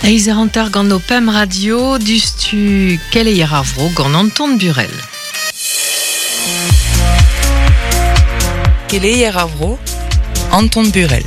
Eizh eur hanter gant ho pemp radio, diouzhtu keleier ar vro gant Anton Burel. Keleier ar vro, Anton Burel.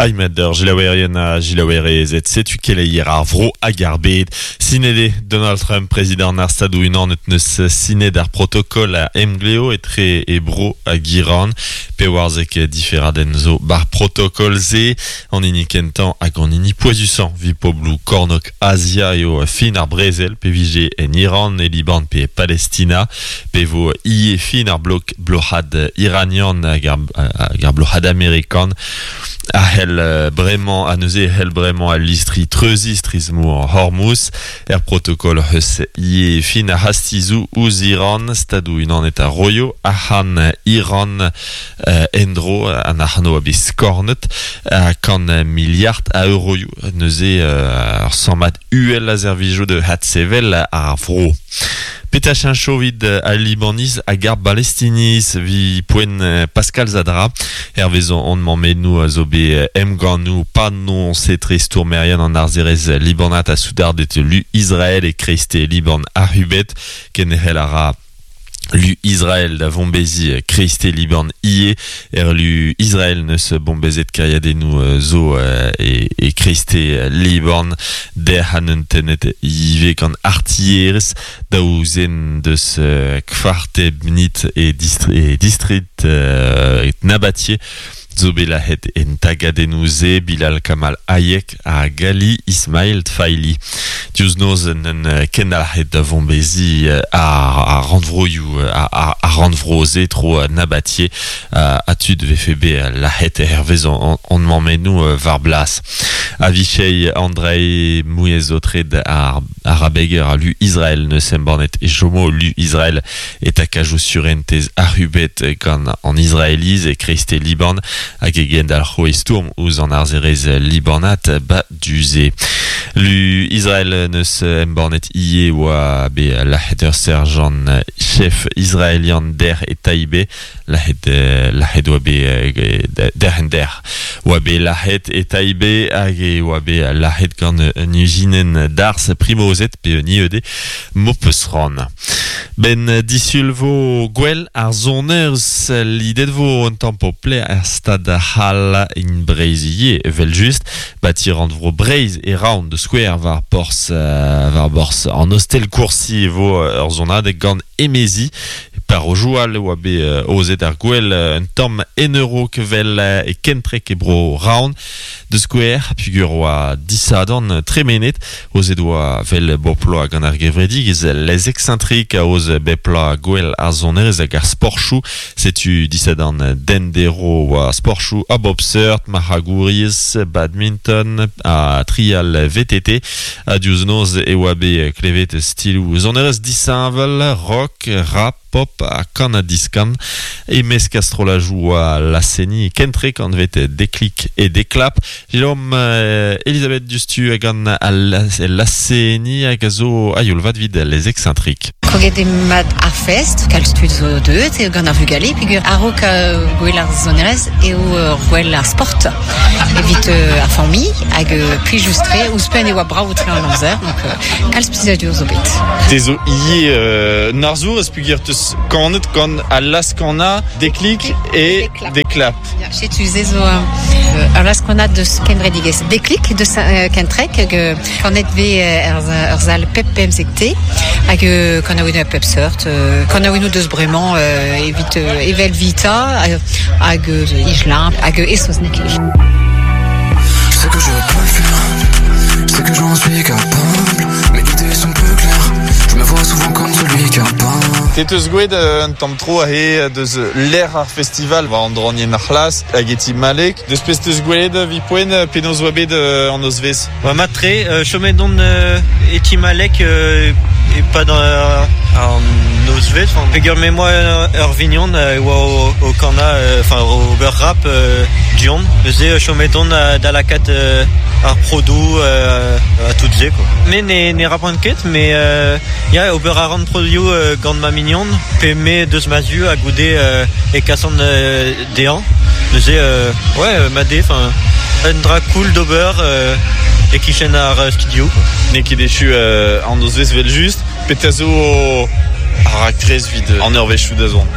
Aymed ur gilaouerien ha gilaouerezed, setu keleier ar vro hag ar bed. Sinet eo Donald Trump, prezidant ar Stadoù-Unanet, neus sinet ar protokol a emgleo etre e bro hag Iran. Pewarzek diferadenn zo 'bar protokol-se. An hini kentañ hag an hini pouezusañ 'vit pobloù kornôg Azia eo fin ar brezel pe vije en Iran, e Liban pe e Palestina. Pe vo ivez fin ar blok bloc'had iranian hag ar bloc'had amerikan a c'hell bremañ ha neuze e c'hell bremañ al listri treuziñ strizh-mor Hormuz. Er protokol hoc'h eus ivez fin ar c'hastizoù ouzh Iran, Stadoù-Unanet a roio arc'hant Iran en-dro, an arc'hant a oa bet skornet, kant miliard a euroioù. Neuze ur sammad uhel a servijo da adsevel ar vro. Petra cheñcho evit al Libaniz hag ar Balestiniz evit poent Pascal Zadra? Hervez hon mammennoù a zo bet emgannoù panoñs etre stourmerien an arzerezh libanat ha soudarded lu Israel e kreisteiz Liban ac'hubet. Kenderc'hel a ra Lu Israel da vombeziñ kreisteiz Liban ivez. Er lu Israel n'eus bombezet kêriadennoù zo e kreisteiz Liban. Dec'h ha neunt tennet ivez gant artilherezh daou zen deus Kfar Tebnit e distrid Nabatieh zo bet lazhet en tagadennoù-se Bilal Kamal Hayek ha Gali Ismail Tfaili. Diouzh noz en kendalc'het da vombeziñ ar rannvroioù ar rannvro-se tro Nabatieh ha tud vefe bet lazhet hervez hon mammennoù war blas. Avishai Andrei mouezh-aotred ar arabeger a lu Israel neus embannet e chomo lu Israel e takajoù surentez ac'hubet gant an Israeliz e kreisteiz Liban hag e gendalc'ho e stourm ouzh an arzerezh libanat ba du-se. Lu Israel neus embannet ivez oa bet lazhet ur serjant chef israelian dec'h e Taibeh Lazhet lazhet oa bet derc'hent-dec'h oa bet lazhet e Taibeh hag e oa bet lazhet gant un ijinenn darzh primozet pe un IED m'ho peus c'hoant. Ben disul vo gwell ar sonerezh lidet vo un tamm pople er stad c'hall in Breizh ivez evel-just. Bati rannvro Breizh e Raon da skouer war porzh war borzh an Ostel Courcy e vo ur sonadeg gant Emezi. Parrozioù all e oa bet aozet ar gouel un tamm en a-raok 'vel e Kentreg e bro Raon. Da skouer, peogwir oa disadorn tremenet, aozet oa 'vel bep bloaz gant ar gevredigezh Les Excentriques aoz bep bloaz gouel ar sonerezh hag ar sporchoù. Setu disadorn d'endero oa sporchoù a bop seurt, marc'hagouriezh, badminton ha trial VTT. Ha diouzh noz e oa bet klevet stiloù sonerezh disheñvel, rock, rap, pop ha kan-ha-diskan. E-mesk ar strollajoù oa laz-seniñ kentrek anvet Deklik et Deklap. Jérôme Elisabeth diouzhtu gant al laz-seniñ hag a zo a-youl vat evit Les Excentriques. Kroget eo mat ar fest, kalz tud zo deuet eo gant ar vugale peogwir a-raok gwell ar sonerezh eo gwell ar sport evit ar familh hag plijus-tre. Ouzhpenn e oa brav-tre an amzer, donc kalz plijadur zo bet. Te zo ivez un arzour ez peogwir 'teus kanet gant al laz-kanañ Deklik et Deklap. Setu se zo ur laz-kanañ deus kevredigezh Deklik deus Kentreg hag kanet vez er sal pep pemzek-te hag kanaouennoù a pep seurt. Kanaouennoù deus bremañ evit evel Vita hag Higelin hag e saozneg. Je sais que je peux le faire, je sais que j'en suis capable. Mes idées sont peu claires, je me vois souvent comme celui qui a pas. Te teus gwelet un tamm tro aze deus lec'h ar festival war an draonienn ar c'hlas hag e ti Malek. Deus pezh teus gwelet evit poent penaos oa bet an nozvezh? Oa mat-tre, chomet on e ti Malek e-pad an nozvezh. Peogwir me 'moa ur vignon e oa o kanañ, enfin ober rap du-hont. Neuze chomet on da lakaat ar prodoù ha tout se quoi. Me ne rapan ket, mais ya ober a ran prodioù gant ma mignon pe me deus ma zu ha goude e kasan dezhañ. Neuze ouais mat eo, enfin. Un dra cool d'ober e kichen ar studio. N'eo ket echu an nozvezh 'vel-just. Petra zo ar raktres 'vit an eurvezhioù da zont?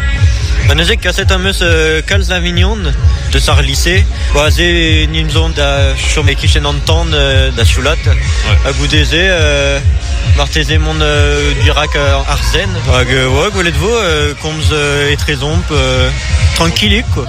Ba neuze kaset am eus kalz a vignon deus ar lise. Ba aze nin zon da chom e-kichen an tan da sioulat. Ha goude-se marteze mont dirak ar zen. Hag ouais, gwelet vo komz etrezomp trankilik quoi.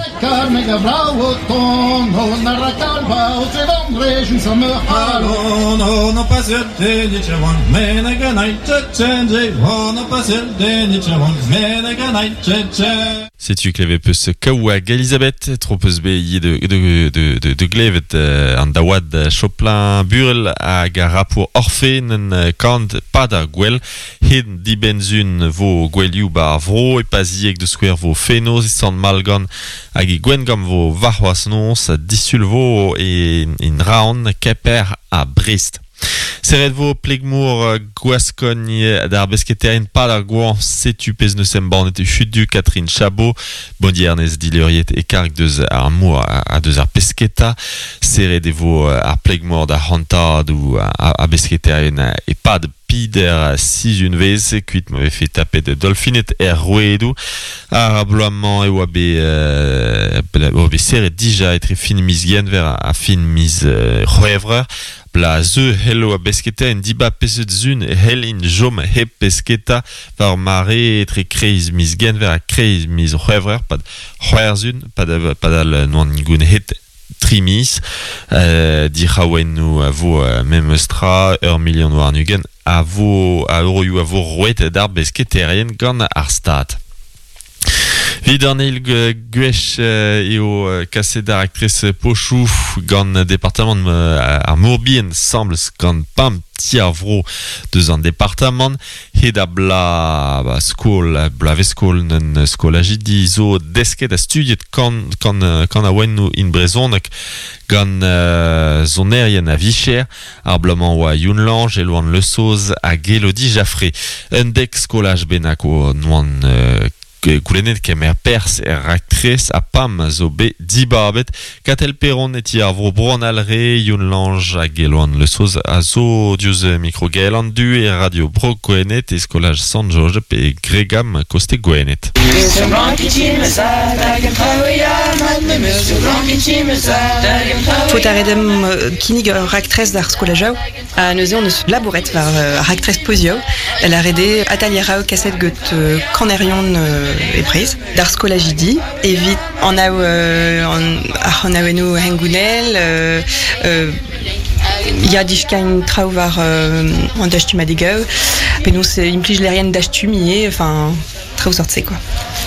Setu klevet peus kaou hag Elisabeth, tro peus bet ivez de, de, de, de, de glevet an daouad Choplin Burel hag ar rapour Orphée nen kant pad ar gwel. Hed dibenn-zun vo gouelioù ba ar vro, e Pazieg da skouer vo fenoz, e Sant-Malgan hag e Gwengamp vo warc'hoazh noz, disul vo e in Raon, Kemper ha Brest. Serret vo pleg-mor Gwaskogn d'ar besketaerien pad ar goañv. Setu pezh 'neus embannet hudu Catherine Chabot, bondiernez dileuriet e karg deus ar mor ha deus ar pesketa. Serret e vo ar pleg-mor d'ar c'hantadoù a besketaerien e-pad pider sizhunvezh, kuit ma vefe tapet dolfined er rouedoù. Ar bloaz-mañ e oa bet, oa bet serret dija etre fin miz Genver ha fin miz C'hwevrer. Bla zeu c'hello a besketa en dibab peseurt sun e c'hellint chom hep pesketa war mare etre kreiz miz Genver ha kreiz miz C'hwevrer pad c'hwec'h pad padal n'oant gounezet tri miz. Dic'haouennoù a vo memes tra, ur milion warn-ugent a vo a euroioù a vo roet d'ar besketaerien gant ar Stad. Evit an eil gwech eo kaset ar raktres pochoù gant departamant ar Mor-Bihan 'sambles gant pemp ti ar vro deus an departamant. Hed ar bloaz skol, bloavezh-skol un skolajidi zo desket ha studiet kanaouennoù in brezhoneg gant sonerien a-vicher. Ar bloaz-mañ oa Youn Lange, Eloan Le Saoz hag Elodie Jaffré. Un dek skolaj bennak o noant goulennet kemer perzh er raktres ha pam zo bet dibabet. Katell Perron e ti ar vro Bro an Alre, Youn Lange hag Eloan Le Saoz a zo diouzh mikro Gael an Du e Radio Bro Gwened e skolaj Sant-Jojeb e Gregam koste Gwened. Faot a ret deomp kinnig ur raktres d'ar skolajoù ha neuze hon eus labouret war ar raktres pozioù. Lâret eo atalier kaset get kanerion e Breizh d'ar skolajidi evit anav ar c'hanaouennoù hengounel, ya diskain traoù war an dastumadegoù, penaos implij lec'hienn dastum ivez, enfin traoù sort-se quoi.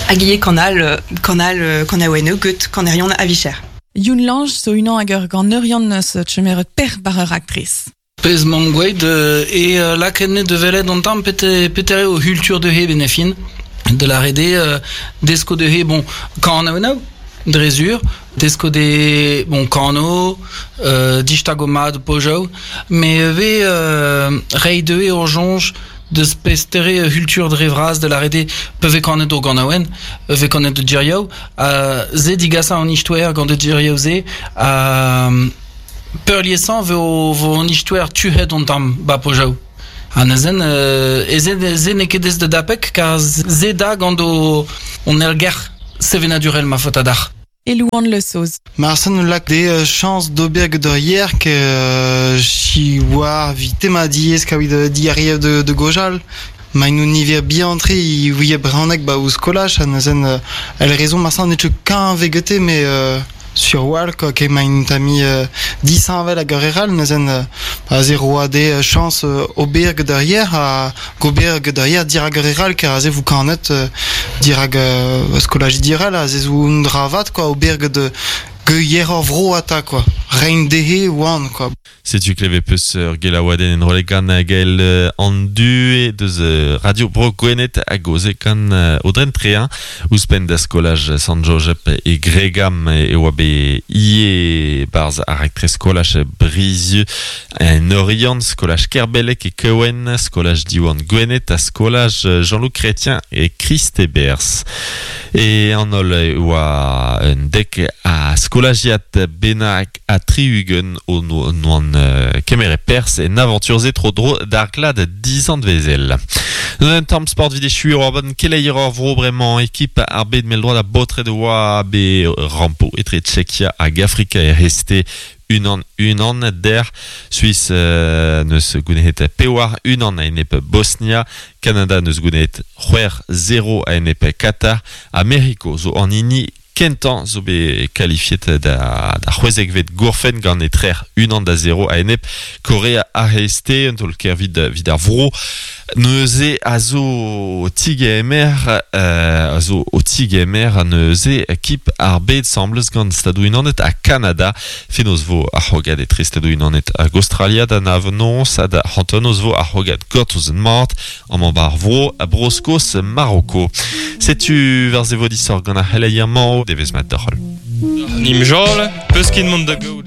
Hag ivez kanal, kanal kanaouennoù get kanerion a-vicher. Youn Lange zo unan hag ur ganeurion eus chemeret per bar ur raktres. Pezh 'maomp gwelet e lakaet da welet an tamm petra eo culture dezhe 'benn ar fin. Da lâret eo desko dezhe bon kanaouennoù dre sur, desko dezhe bon kano, distago mat pojoù, met ivez reiñ dezhe ur soñj deus pestere culture dre vras da lâret eo pa vez kanet o ganaouenn, pa vez kanet o diriaou, se digasañ an istoer gant o diriaou-se ha peurliesañ vo vo an istoer tuhet an tamm ba pojaou. Ha neuzen e se n'eo ket aes da dapek kar se da gant o on ergerc'h sevenadurel ma faota dac'h. Elouan Le Saoz. Marsen lak de chañs d'ober get ur yer ke chi oar 'vit tema diaes kaout diariev de gojal. Ma ino niver bihan-tre i ouie brezhoneg ba o skolaj ha neuzen el rezon marsen n'eo ket kañv gete met sur 'walc'h quoi ke maint ami disheñvel hag ur re all neuzen aze roa de chañs ober get ur yer ha gober get ur yer dirak ur re all kar aze vo kanet dirak skolajidi all aze zo un dra vat quoi ober get yer ur vro ata quoi reiñ dezhe oan quoi. Setu klevet peus ur gelaouadenn enrollet gant Gael an Du deus Radio Bro Gwened hag oze gant Audren Trein. Ouzhpenn da skolaj Sant-Jojeb e Gregam e oa bet ivez barz ar raktres skolaj Brizieu en Orient, skolaj Kerbelek e Kewen, skolaj Diwan Gwened ha skolaj Jean-Loup Chrétien e Christebers. E an ol oa un dek a skolajiad bennak a triugen o noan kemere pers en aventure ze tro dro d'ar glad dizant vezel. Un tamm sport vid echu ur ban keleier ur vro bremañ ekip ar bed mell droad a baotred oa be rampo etre Tchekia hag Afrika e reste unan unan der Suisse neus gouneet pewar unan a enep Bosnia Canada neus gouneet c'hwec'h zero a enep Qatar Ameriko zo an hini kentañ zo bet kalifiet da da c'hwezekvet gourfenn gant etrec'h unan da zero a-enep Korea ar C'hreisteiz, un taol-kaer evit evit ar vro. Neuze a zo o tigemer a zo o tigemer neuze kip ar bed 'sambles gant Stadoù-Unanet ha Kanada. Fenoz 'vo ar c'hrogad etre Stadoù-Unanet hag Aostralia da nav noz ha da hanternoz 'vo ar c'hrogad gortoz mat amañ 'ba ar vro Bro-Skos Maroko. Setu war se 'vo disoc'h gant ar c'heleier-mañ. Devezh mat deoc'h holl. Nimjol, peus ket mont da gaout